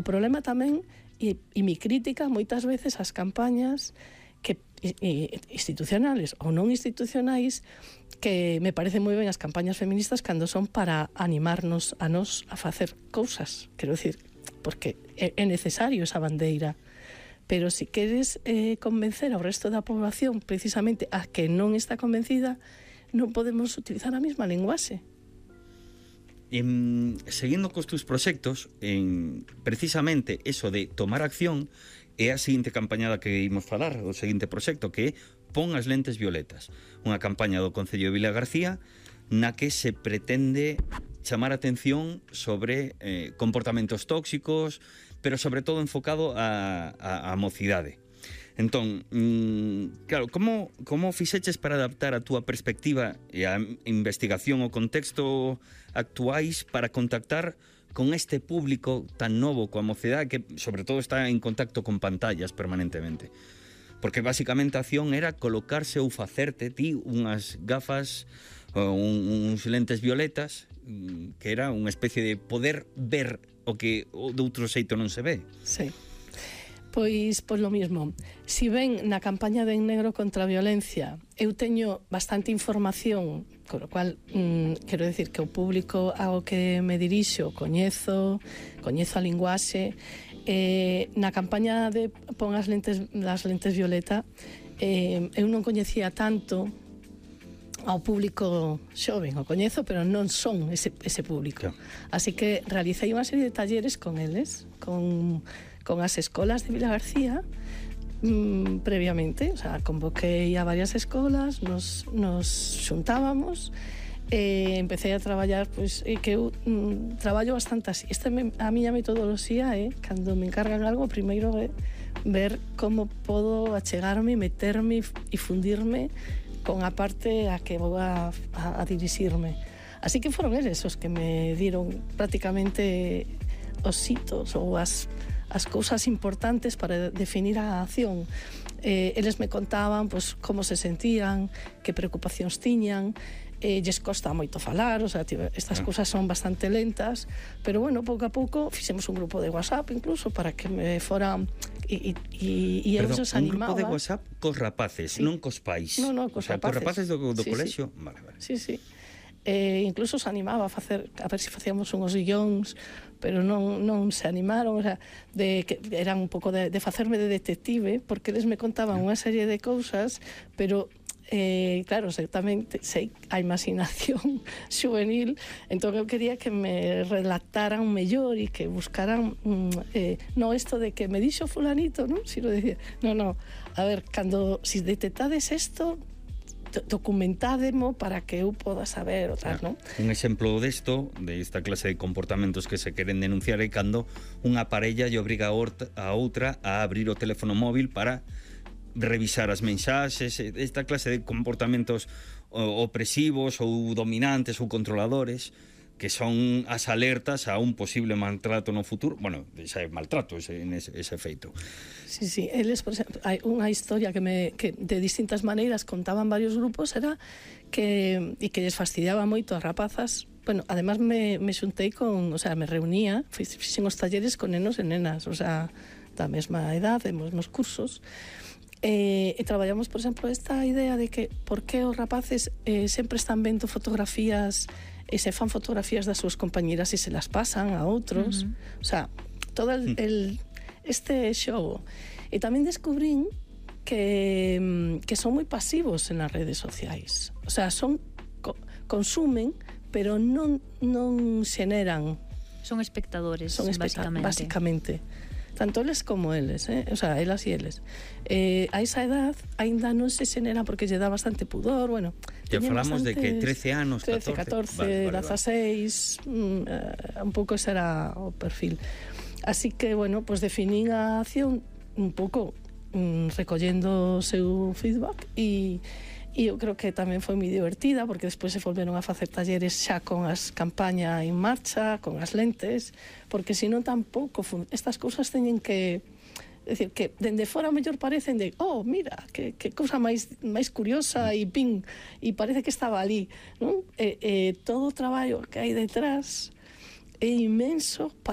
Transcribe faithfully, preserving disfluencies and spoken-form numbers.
o problema tamén, e, e mi crítica moitas veces ás campañas que e, institucionales ou non institucionais, que me parece moi ben as campañas feministas cando son para animarnos a nos a facer cousas, quero dicir, porque é, é necesario esa bandeira, pero se si queres eh, convencer ao resto da población precisamente a que non está convencida, non podemos utilizar a mesma linguaxe. En, seguindo cos tus proxectos, en, precisamente eso de tomar acción é a seguinte campaña da que imos falar, o seguinte proxecto, que é Pon as lentes violetas, unha campaña do Concello de Vilagarcía na que se pretende chamar a atención sobre eh, comportamentos tóxicos, pero sobre todo enfocado a, a, a mocidade. Entón, mmm, claro, como, como fixeches para adaptar a túa perspectiva e a investigación o contexto actuais para contactar con este público tan novo coa mocidade que sobre todo está en contacto con pantallas permanentemente? Porque basicamente a acción era colocarse ou facerte ti unhas gafas ou uns lentes violetas, que era unha especie de poder ver o que de outro xeito non se ve. Sí. Pois, pois lo mismo. Si ven na campaña de En Negro contra a Violencia eu teño bastante información, con lo cual mm, quero decir que o público ao que me dirixo coñezo, coñezo a linguaxe. Eh, na campaña de Pon as lentes, as lentes violeta, eh, eu non coñecía tanto ao público xoven, o coñezo, pero non son ese, ese público. Así que realicei unha serie de talleres con eles, con, con as escolas de Vilagarcía, mmm, previamente, o sea, convoquei a varias escolas, nos, nos xuntábamos, e empecé a traballar, pois, e que eu mm, traballo bastante así. Esta me, a miña metodoloxía é, eh, cando me encargan algo, primeiro é ver como podo achegarme, meterme e fundirme con a parte a que vou a, a, a dirixirme. Así que foron eles os que me dieron prácticamente os hitos ou as, as cousas importantes para definir a acción. Eh, eles me contaban pois, como se sentían, que preocupacións tiñan, eh, lles costa moito falar, o sea, estas ah. cousas son bastante lentas, pero bueno, pouco a pouco fixemos un grupo de WhatsApp incluso para que me foran e, e, e Perdón, eles animaba. un grupo de WhatsApp cos rapaces, sí. non cos pais. No, no, cos o sea, rapaces. Cos rapaces do, do sí, colexio. Sí. Vale, vale. Sí, sí. Eh, incluso se animaba a facer, a ver se si facíamos unhos guións, pero non, non se animaron, o sea, de, que eran un pouco de, de facerme de detective, porque eles me contaban unha serie de cousas, pero eh, claro, sei, tamén sei a imaginación juvenil, entón eu quería que me relataran mellor e que buscaran mm, eh, non isto de que me dixo fulanito, non? Si lo decía, no, no, a ver, cando si detectades isto, documentádemo para que eu poda saber o tal, non? Un exemplo desto, de esta clase de comportamentos que se queren denunciar, é cando unha parella lle obriga a outra a abrir o teléfono móvil para revisar as mensaxes, esta clase de comportamentos opresivos ou dominantes ou controladores, que son as alertas a un posible maltrato no futuro. Bueno, xa é maltrato ese, ese, ese feito. Sí, sí, eles, por exemplo, hai unha historia que, me, que de distintas maneiras contaban varios grupos, era que, e que les fastidiaba moito as rapazas. Bueno, además me, me xuntei con, o sea, me reunía, fixen os talleres con nenos e nenas, o sea, da mesma edade, dos mesmos cursos, e, e traballamos, por exemplo, esta idea de que por que os rapaces eh, sempre están vendo fotografías e se fan fotografías das súas compañeras e se las pasan a outros, uh-huh. O sea, todo el, el, este xogo. E tamén descubrín que, que son moi pasivos en as redes sociais, o sea, son co, consumen, pero non, non xeneran. Son espectadores, son especta- basicamente. Básicamente. Tanto eles como eles, eh? O sea, elas e eles. Eh, a esa edad ainda non se xenera porque lle dá bastante pudor, bueno. Ya falamos de que trece anos, trece, catorce, dezaseis, mm, eh, un pouco ese era o perfil. Así que, bueno, pues definín a acción un pouco mm, recollendo o seu feedback e E eu creo que tamén foi moi divertida, porque despois se volveron a facer talleres xa con as campaña en marcha, con as lentes, porque senón tampouco estas cousas teñen que, decir, que dende fora mellor parecen de, oh, mira, que, que cousa máis máis curiosa e pin, e parece que estaba ali, non? E, e todo o traballo que hai detrás é inmenso para